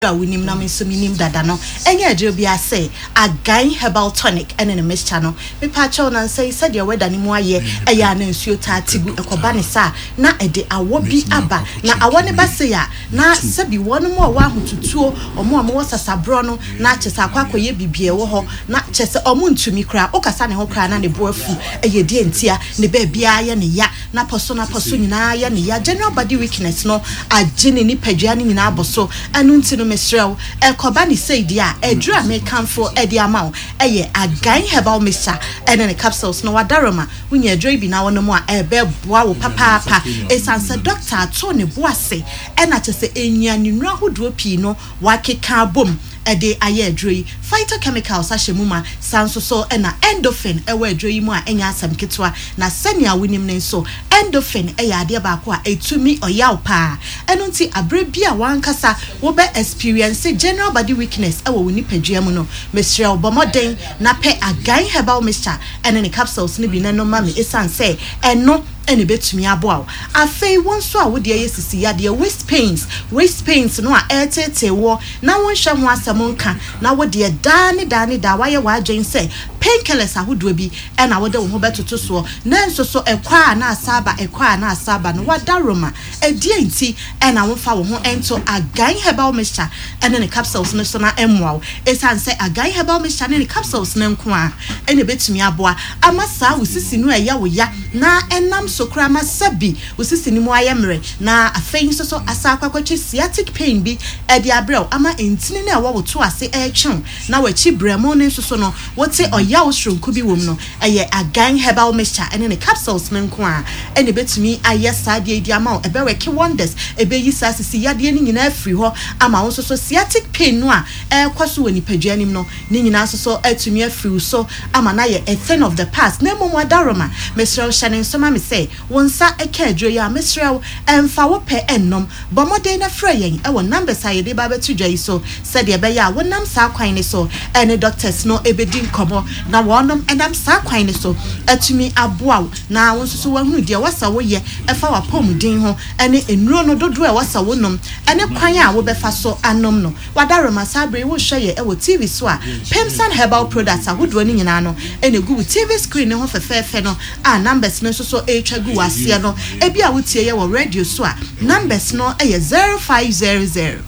A wonim na me nso menim dada no, ɛnyɛ aduro biara sɛ Agan Herbal Tonic ne ne mixture no. Mepaakyɛw, nansa yi sɛdeɛ weather no mu ayɛ, ɛyɛ a na nsuo taa te gu, ɛkɔba ne saa a, na ɛde awɔ bi aba. Na awɔ no ba sei a, na sɛbi wɔnom a wɔwɔ ahotutuo, wɔn a wɔwɔ sasaborɔ no, na kyerɛ sɛ akɔ akɔyɛ biribi a ɛwɔ hɔ, na kyerɛ sɛ wɔntumi koraa, wokasa ne ho koraa na ne bo afu, ɛyɛ deɛ ntia, ne baabiara yɛ ne ya. N'apɔso n'apɔso nyinaa yɛ no ya, general body weakness no agye ne nipadua no nyinaa abɔ so, ɛno nti no mesrɛ wo, ɛkɔba no sei deɛ a, aduru a mekamfo de ama wo yɛ Again Herbal Mixture ne ne capsules no, Wadaroma, wonya aduro yi bi na wonom a, ɛbɛboa wo papaapa, ɛsiane sɛ dɔkta ato ne bo ase na kyerɛ sɛ nnuanennuro ahodoɔ pii no wakeka abom de ayɛ aduro yi. Phytochemicals ahyɛ mu ma, saa nso so na endorphin wɔ aduro yi mu a ɛnyɛ asɛm ketewa. Na sɛnea wonim no nso, endorphin yɛ adeɛ baako a ɛtumi ɔyaw paa. Ɛno nti aberɛ bi a w'ankasa wobɛ experience general body weakness wɔ wo nipadua mu no, mesrɛ wo bɔ mmɔden na pɛ Again Herbal Mixture ne ne capsules no bi na nom ma me ɛsiane sɛ ɛno na ɛbɛtumi aboa wo. Afei wo nso a wo deɛ yɛ sisi yadeɛ, waist pains, waist pains no a ɛreteetee woɔ na wonhwɛ ho asɛm nka, na wo deɛ daa ne daa ne daa woayɛ w'adwene sɛ painkillers ahodoɔ bi na wode wo ho bɛtoto soɔ, nanso so ɛkɔ a na asa aba, ɛkɔ a na asa aba no, w'adaworoma, ɛdeɛn nti na womfa wo ho nto Again Herbal Mixture ne ne capsules no so na ɛmmoa wo? Ɛsiane sɛ Again Herbal Mixture ne ne capsules no nko ara na ɛbɛtumi aboa ama saa wo sisi no a ɛyɛ wo ya na ɛnam so koraa ma sɛbi wo sisi no mu ayɛ mmerɛ na afei nso so asan akɔ akɔtwe sciatic pain bi de abrɛ wo ama ntini no a ɛwɔ wo to ase retwe wo na w'akyi berɛmo no nso so no wote ɔyaw soronko bi wom no, ɛyɛ Again Herbal Mixture ne ne capsules no nko ara na ɛbɛtumi ayɛ saa adeɛ yi de ama wo. Ɛbɛ worke wonders, ɛbɛyi saa sisi yadeɛ no nyinaa afiri hɔ ama wo nso so sciatic pain no a ɛrekɔ so wɔ nipadua no mu no, ne nyinaa nso so atumi afiri wo so ama no ayɛ a thing of the past. Na mmom Adaworoma, mesrɛ wo hyɛ no nso ma me sɛ, Wo nsa ka aduro yi a, mesrɛ wo, mfa wo pɛ nnom. Bɔ mmɔden na frɛ yɛn wɔ numbers a yɛde reba abɛto dwa yi so sɛdeɛ ɛbɛyɛ a wonam saa kwan no so ne doctors no bɛdi nkɔmmɔ na wɔnom nam saa kwan no so atumi aboa wo na wo nso so woahunu deɛ ɛwɔ sɛ woyɛ ɛfa w'apɔmuden ho ne nnuro no dodoɔ a ɛwɔ sɛ wonom ne kwan a wobɛfa so anom no. W'adaworoma saa berɛ yi worehwɛ yɛ wɔ TV so a, Pemsan Herbal Products ahodoɔ no nyinaa no na ɛgu wo TV screen no ho fɛfɛɛfɛ no a numbers no nso so retwa gu w'aseɛ no. Ebia wotie yɛ wɔ radio so a, numbers no yɛ 0500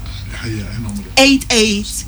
88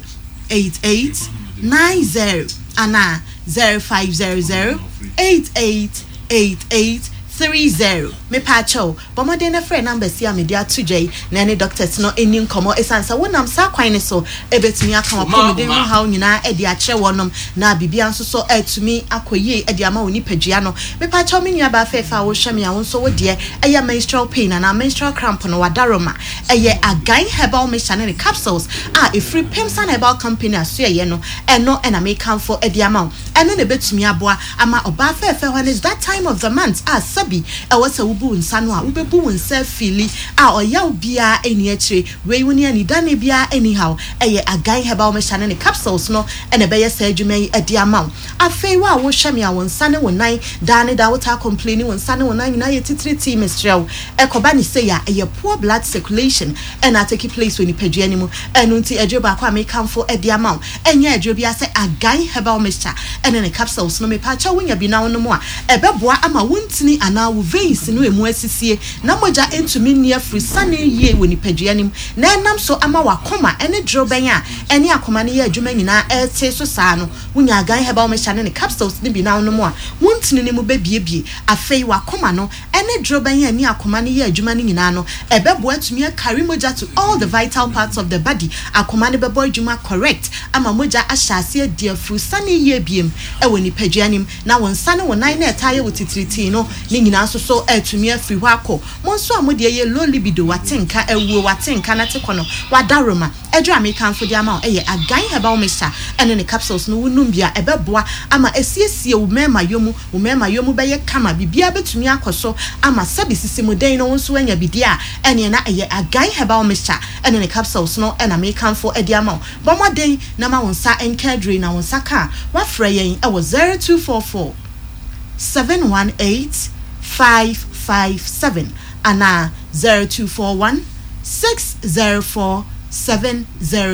88 90 anaa 0500 88 88 30. Mepaakyɛw, Bɔ mmɔden na frɛ numbers yi a mede ato dwa yi na ɛne doctors no nni nkɔmmɔ esiane sɛ wonam saa kwan no so bɛtumi aka w'apɔmuden ho haw nyinaa de akyerɛ wɔnom na biribiara nso so atumi akɔ yie de ama wo nipadua no. Mepakyɛw me nuabaa fɛɛfɛ a wohwɛ me a wo nso wo deɛ ɛyɛ menstrual pain anaa menstrual cramp no w'adaroma ɛyɛ Again Herbal Mixture ne ne capsules a ɛfiri Pemsan Herbal Company asoɛeɛ no ɛno na mekamfo de ama wo. Ɛno na ɛbɛtumi aboa ama ɔbaa fɛɛfɛ when it's that time of the month a sɛbi ɛwɔ sɛ wobu wo nsa no a wobɛbu wo nsa afeeli a ɔyaw biara nni akyire. Wei wo ne anidane biara nni haw. Ɛyɛ Again Herbal Mixture ne ne capsules no na ɛbɛyɛ saa adwuma yi de ama wo. Afei wo a wohwɛ me a wo nsa ne wo nan daa ne daa wotaa complaini wo nsa ne wo nan nyinaa yɛ titiritii mesrɛ wo ɛkɔba ne sei a ɛyɛ poor blood circulation na atake place wɔ nipadua no mu. Ɛno nti aduro baako a mekamfo de ama wo ɛnyɛ aduro biara sɛ Again Herbal Mixture ne ne capsules no. Mepaakyɛw wonya bi na wonom a, ɛbɛboa ama wo ntini anaa wo veins no emu asisie na mogya ntumi nni afiri sane yie wɔ nipadua no mu na ɛnam so ama w'akoma ne dorobɛn a ɛne akoma no yɛ adwuma nyinaa ɛrete so saa no. Wonya Again Herbal Mixture ne ne capsules no bi na wonom a, wo ntini no mu bɛbuebue. Afei w'akoma no ne dorobɛn a ɛne akoma no yɛ adwuma no nyinaa no, ɛbɛboa atumi akari mogya to all the vital parts of the body, akoma no bɛbɔ adwuma correct ama mogya ahyɛ aseɛ adi afurusane yie biom wɔ nipadua no mu, na wo nsa ne wo nan no a ɛtaa yɛ wo titiritii no ne nyinaa nso so atumi afiri hɔ akɔ. Mo nso a mo deɛ yɛ low libido, wate nka awuo, wate nka na te kɔ no, wadaworoma. Aduru a mekamfo de ama wo yɛ Again Herbal Mixture ne ne capsules no, wonom bi a ɛbɛboa ama asiesie wo mmarima mu, wo mmarima mu bɛyɛ kama, biribiara bɛtumi akɔ so ama sɛbe sisimuden no wo nso woanya bi deɛ a, ɛneɛ na ɛyɛ Again Herbal Mixture ne ne capsules no na mekamfo de ama wo. Bɔ mmɔden na ma wo nsa nka aduru yi na wo nsa ka a, woafrɛ yɛn wɔ 0244 718 557 anaa 0241 604. 7 0.